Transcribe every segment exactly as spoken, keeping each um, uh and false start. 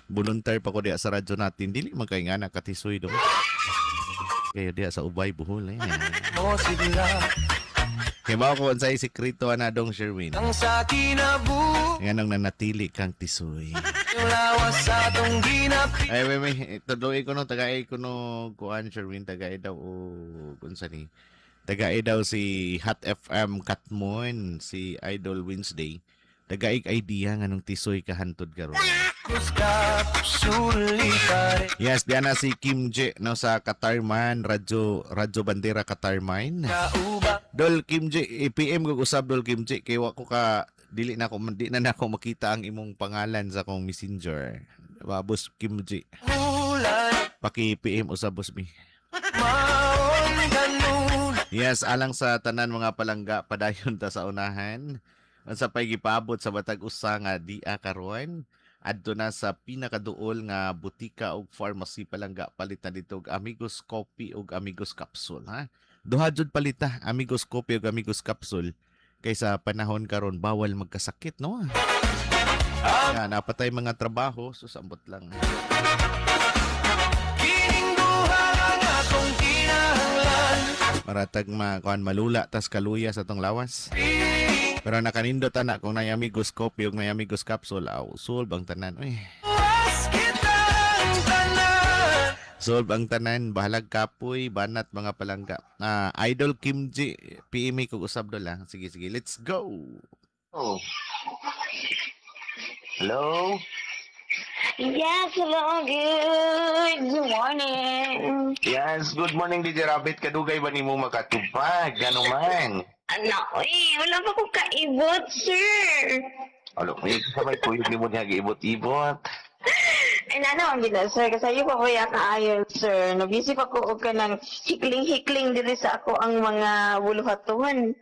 Volunteer pa ko diya sa radyo natin. Dili man kay nga nakatisoy do. Kayo diya sa Ubay, Bohol eh. Mo sila Kay mao ko unsay sikreto ana dong Sherwin. Ang sa kinabuhi Nga nang nanatili kang tisoy. Lawas sa atong ginapi Ay, may, may, tuloy ko no, tagay ko no, kuan Sherwin, tagay daw o, kung ni, tagay daw si Hot F M Katmon, si Idol Wednesday, tagay idea nga nung tisoy ka hantod karon. Kapsulitare. Yes, diyan na si Kim J no sa Katarman, Radyo Radyo Bandera Katarman. Kauba Dol Kim J, i-P M ko usab, Dol Kim J, kay wa ko ka dili na ako di na nako makita ang imong pangalan sa akong Messenger. Boss Kim J. Ulan. Paki-P M usab, boss mi. Maong ganun. Yes, alang sa tanan, mga palangga, padayon ta sa unahan. Unsa pay gipaabot sa batag usa nga dia karon? Adto na sa pinakaduol nga butika ug pharmacy, palangga, palit na dito og Amigos Coffee ug Amigos Capsule, ha. Duha jud palita, Amigos Coffee ug Amigos Capsule, kaysa panahon karon bawal magkasakit, no. Nga napatay mga trabaho, so sambot lang. Kining duha ang atong kinahanglan. Maratag ma kuan malula tas kaluya sa tong lawas. Pero nakanindot ana kung nay Amigos Coffee ug nay Amigos Capsule, aw, solve ang tanan. Uy, Was kitang tanan. Solve ang tanan, bahalag kapoy, banat, mga palangga. Ah, Idol Kim G, P M ko usab dol ah. Sige sige, let's go. Oh. Hello? Yes, hello, good morning. Yes, good morning, D J Rabbit. Kadugay ba nimo makatupag? Gano man? Ano, eh, wala pa kong kaibot, sir. Alo, may sa may kuyog nimo niya giibot-ibot. Ay, nana, ang gina, sir. Kasi ayo pa ko yaka ayo, sir. Nabisi pa ko og kanang hikling-hikling diri sa ako ang mga buluhatuan.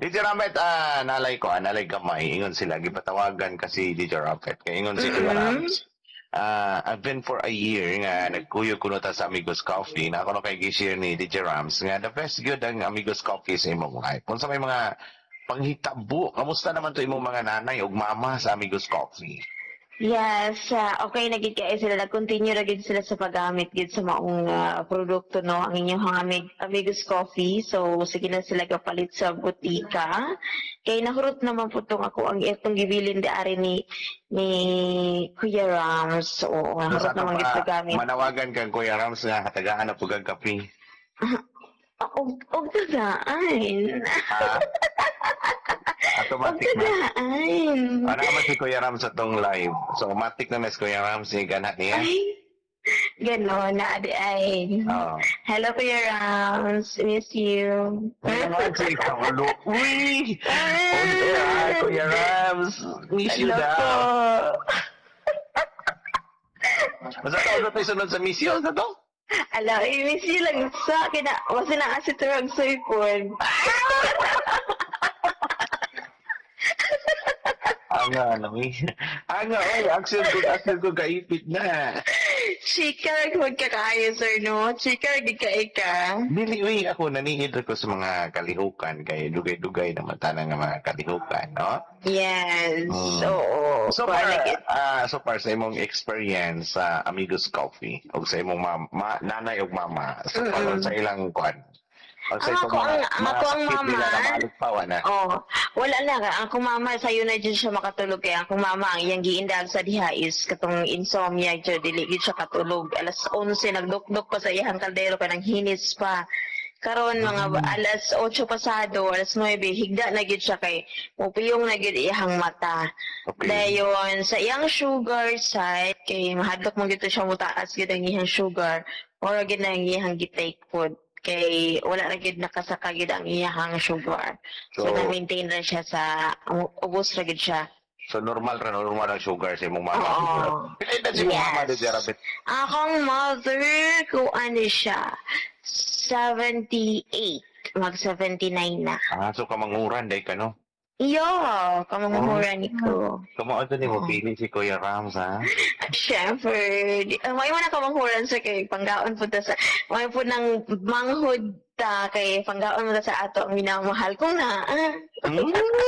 D J Rabbit, ah, nalay ko, ah, nalay gamay. Ingon sila, gipatawagan kasi D J Rabbit. Kaya ingon si Kuya Mhm. Rams. Ah, I've been for a year nga nagkuyog kuno ta sa Amigos Coffee na ako no kay gi-share ni D J Rams nga the best good ang Amigos Coffee sa imong life. Kung sa may mga panghitabo, kamusta naman to imong mga nanay ug mama sa Amigos Coffee? Yes, ah, okay na gid kay sila, nag-continue ra gid sila sa paggamit gid sa maong ah, produkto, no, ang inyong Amig Amigos Coffee. So sige na sila kapalit sa butika. Kay nahurot naman po tong ako ang itong gibilin di ari ni ni Kuya Rams. So nahurot Sa ato naman gid pa, paggamit. Manawagan kang Kuya Rams nga katagaan na pug ang kape. Og og tagaan. Ha? Og Automatic na. tagaan. Ano naman si Kuya Rams sa tong live? So, automatic na na si Kuya Rams ni ganat niya. Ay, gano'n na di ay. Oo. Hello, Kuya Rams. Miss you. Ano naman si Kaulo? Uy! On air, ah, Kuya Rams. Miss you Hello daw. po. Basta to, ano tayo sunod sa miss you? Sa to? Ala, i-miss you lang sa kina, wasi na kasi turag soypon. Anga, ano eh. Anga, oy, action ko, action ko, kaipit na. Chika, magkakaayo, sir, no? Chika, di ka ika. Dili, uy, ako, nanihid ko sa mga kalihukan, kay dugay-dugay naman tanang nga mga kalihukan, no? Yes. Mm. Oo. So far, Parang- ah, so far sa imong experience sa Amigos Coffee o sa imong mama, ma, nanay ug mama, so far Mm-mm. sa ilang kuan. O sa Ang itong ako mga, ang- ang mga ako ang sakit nila mama. na mahalugpawan na. Oh, wala na. Ang akong mama, sayo na dyan siya makatulog. Kaya ang akong mama, ang iyang giindal sa diha is katong insomnia, dyan, dili gid siya katulog. Alas onse, nagdukdok pa sa iyang kaldero, kanang hinis pa. Karon mga alas otso pasado, alas nuwebe, higda na gid siya kay mupiyong na gid iyang mata. Okay. Dayon sa iyang sugar side kay mahadlok mo gito siya mutaas gid ang iyang sugar or gid na ang iyang gi-take food kay wala na gid nakasaka gid ang iyang sugar. So, So, na-maintain ra siya sa ubos ra gid siya. So normal ra, normal ang sugar sa imong mama. Oo. Pila edad si imong Yes. mama, D J Rabbit? Akong mother ko ano siya, seventy-eight, mag seventy-nine na. Ah, so kamanguran day ka, no? Iyo, kamanguran ko. Kamo ato ni mo Oo. pili si Kuya Rams ha. Siyempre, di, uh, may mo na kamanghuran sa kay panggaon po ta sa, may po ng manghud ta kay panggaon mo ta sa ato ang minamahal ko na. Mm.